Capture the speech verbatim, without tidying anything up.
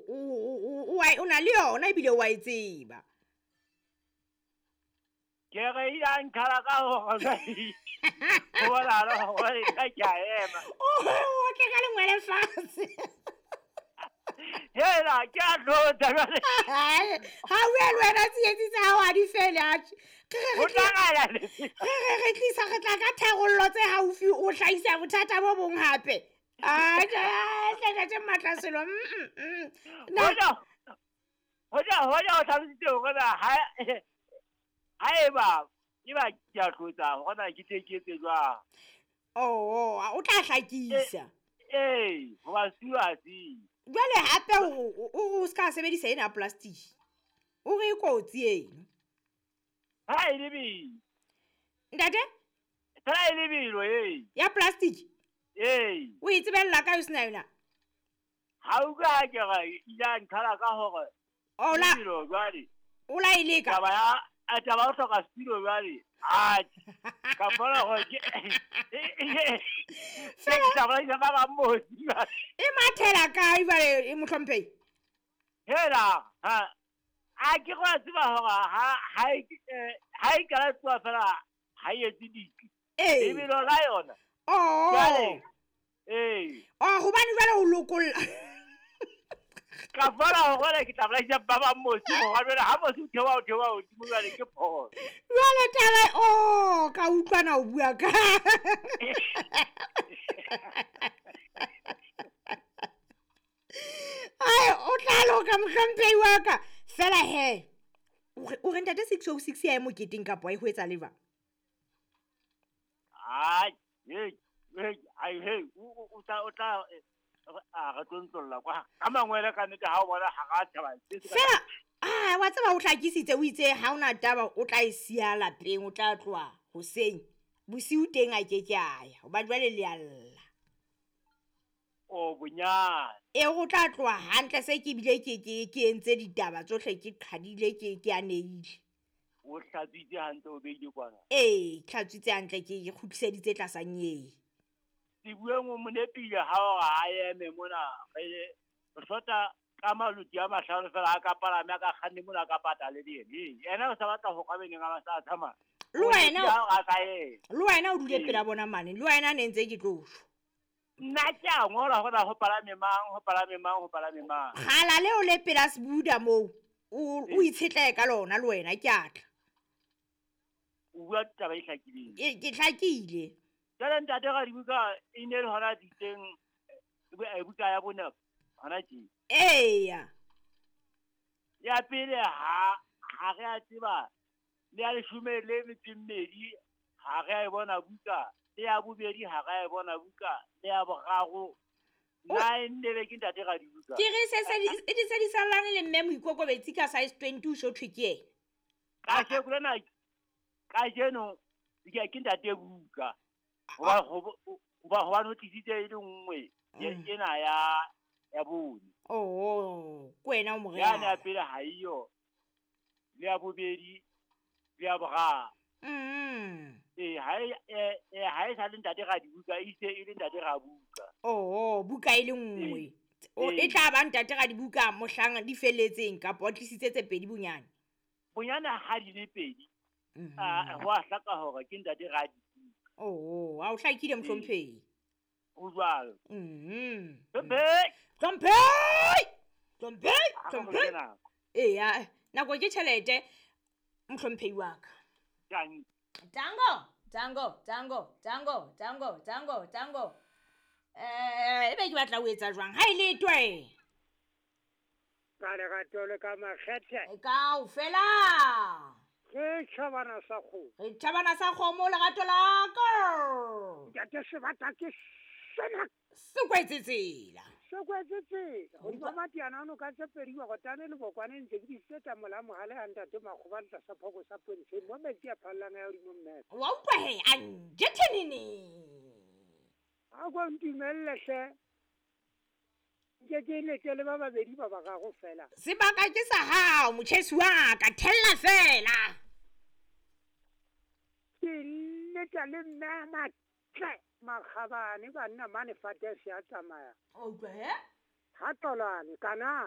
o o na le yona ebile o a e tseba. Ke re ile a nkhala ka hore ho bonahala hore nna ke a ema. O tle ka lengwele fatshe. Hela ke a tlotsa jwale. Ha o bue le wena tsietsi tsa hao ha di fele atjhe. Re re re tlisa re tla ka tharollo tse haufi o hlahisa bothata bo bong hape. Atjhe hle ntate Matlaselo. Hoja hoja hoja o hlalositse hore na ha ha eba eba ke a tlotsa hore na ke tle ke etse jwang. Oh, o tla hlakisa. Ee, hoba setulo ha se. Jwale hape o o ska sebedisa ena plastic. O re kotsi eno. Ha e lebelo. Ntate? Fela e lebelo ee. Ya plastic? Ee. O e tsebella kae o sena yona? Ha o ka ke re ile a nkhala ka hore Ola. Lebelo jwale. O la e leka. Taba ya a taba o hloka setulo jwale. Atjhe. Ka bona hore ke Fela taba ya ba ba motsi. E mathela kae jwale e mohlomphehi? Hela ha a ke go tseba hore ha ha ha e kala tsoa fela ha e etse ditli. Ee. Lebelo la yona. Oh. Jwale. Ee. Oh, hobane jwale o lokolla. Ka bona hore ke tla bolaisa ba ba motsi hore jwale ha motsi o theoha o theoha hodimo jwale ke phoso. Jwale taba oh ka utlwana o bua ka. Ai o tla loka mohlomphehi wa ka. Fela he. O re ntate six oh six ya e moketeng kapa e ho etsa leva? Ai, hey, hey, ai hey, o tla o tla a re tlontlolla kwa ka mangwele ka nnete ha o bona ha ga tshaba. Fela ah wa tseba o hlakisitse o itse ha ona taba o tla e siya lapeng o tla tloha hoseng bosiu teng a ke ke a ya hoba jwale le a lla. O bonyane. E o tla tloha hantle se ke bile ke ke ke entse ditaba tsohle ke qhadile ke ke aneile. O hlatswitse hantle o beile kwana. Ee, hlatswitse hantle ke kgutliseditse tlasa nyee. Sebueng o monepile ha o a eme mona re hlota ka maloti a mahlano fela a ka palame a ka kganne mona ka patale le yena. Yena o sa batla ho kwabeneng a ba sa tsamaya. Le wena a ka e. Le wena o dule pela bona mane. Le wena ne ntse ke tlo shwa. Nna ke a ngola hore ho palame mang, ho palame mang, ho palame mang. Kgala leo le pela Sebuda moo. O o itshetlehe ka lona le wena ke a tla. O bua taba e hlakileng. Ke ke hlakile. Jwale ntate Radibuka e ne le hona ditseng buka ya bone hona tje. Eya. Ya pele ha ha re a tseba le ya leshome le metso e mmedi ha re a e bona buka, le ya bobedi ha re a e bona buka, le ya boraro nna e nne be ke ntate Radibuka. Ke re se se di se di sallane le mme Moikokobetsi ka size twenty o so thwe ke ena. Kajeno lena kajeno ke ke ntate buka. Hoba hoba hoba no tlisitse e le nngwe ena ya ya bone. Oh, ke wena o morena. Ya na pele ha iyo. Le ya bobedi le ya boraro. Mm. Eh ha e ha e sa le ntate Radibuka e se e le ntate Rabuka. Oh, buka e le nngwe. O e tla ba ntate Radibuka mohlang di felletseng kapa o tlisitse tse pedi bonyane. Bonyane ha di le pedi. Ah, ho a hlaka hore ke ntate Radibuka. Oh, ha o hlakile mohlomphehi. O jwalo. Mhm. Hlomphehi. Hlomphehi. Hlomphehi. Hlomphehi. Eya, nako ke tjhelete mohlomphehi wa ka. Tango. Tango, tango, tango, tango, tango, tango, tango. Eh, ebe ke batla ho etsa jwang? Ha e le twe. Ka lerato le ka makgethe. Kaofela. Ke tjhabana sa kgomo. Re tjhabana sa kgomo lerato la ka. Ntate sebata ke sena. Se kwetse tsela. Se kwetse tsela. Hodima matiana ano ka tse pedi wa kotane le bokwane ntse ke diseta mola mohale a ntate Makgoba le tlasa phoko sa Pontsheng mo metsi a phallang ya hodimo mme. Wa utlwa he a njethenene. A go ntumelle hle. Ke ke lete le ba babedi ba ba gago fela. Sebaka ke sa hao motjhesi wa ka thella fela. Ke leta le mme matle makgabane banna mane fate se a tsamaya. O utlwa he? Ha tolane kana.